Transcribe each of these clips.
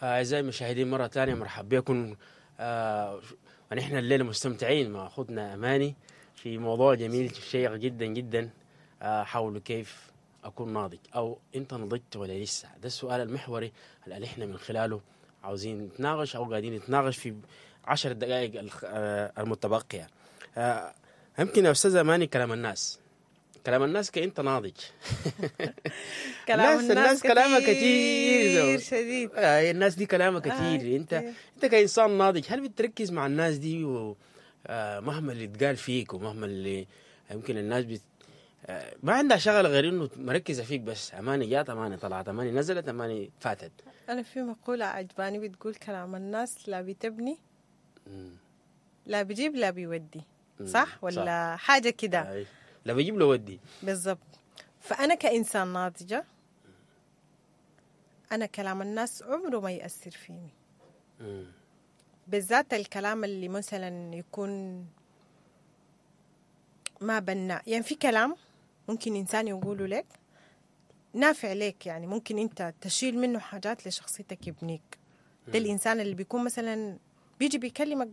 أعزائي المشاهدين، مرة ثانية مرحبا بكم. ونحن الليلة مستمتعين مع أخوتنا أماني في موضوع جميل شيق جدا جدا حول كيف أكون ناضج، أو أنت نضجت ولا لسه. ده السؤال المحوري اللي احنا من خلاله عاوزين نتناقش، أو قاعدين نتناقش في 10 دقائق المتبقية. يمكن يا أستاذة أماني، كلام الناس، كلام الناس كأنت ناضج. كلام الناس كلامها كتير. كتير شديد. الناس دي كلامها كتير. انت كتير. انت كانسان ناضج، هل بتركز مع الناس دي و مهما اللي اتقال فيك ومهما اللي يمكن الناس بت ما عندها شغله غير انه مركزه فيك بس، اماني جات، اماني طلعت، اماني نزلت، اماني فاتت؟ أنا في مقولة عجباني بتقول: كلام الناس لا بتبني لا بيجيب لا بيودي. صح ولا حاجة كده؟ لا بجيب له ودي. بالضبط. فأنا كإنسان ناضجة، أنا كلام الناس عمره ما يأثر فيني، بالذات الكلام اللي مثلا يكون ما بناء. يعني في كلام ممكن إنسان يقوله لك نافع لك، يعني ممكن أنت تشيل منه حاجات لشخصيتك يبنيك. ده الإنسان اللي بيكون مثلا بيجي بيكلمك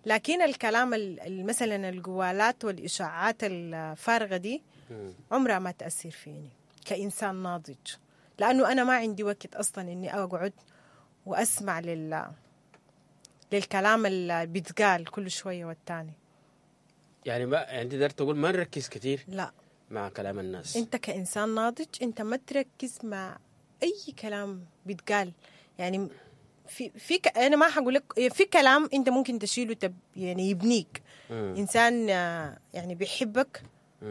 لكن الكلام مثلا القوالات والإشاعات الفارغة دي عمرها ما تأثر فيني كإنسان ناضج، لأنه أنا ما عندي وقت أصلا إني أقعد وأسمع للكلام اللي بيتقال كل شوية والتاني. يعني ما يعني انت داير تقول ما نركز كتير لا. مع كلام الناس. انت كإنسان ناضج انت ما تركز مع أي كلام بيتقال. يعني انا ما حقول لك، في كلام انت ممكن تشيله يعني يبنيك. انسان يعني بيحبك.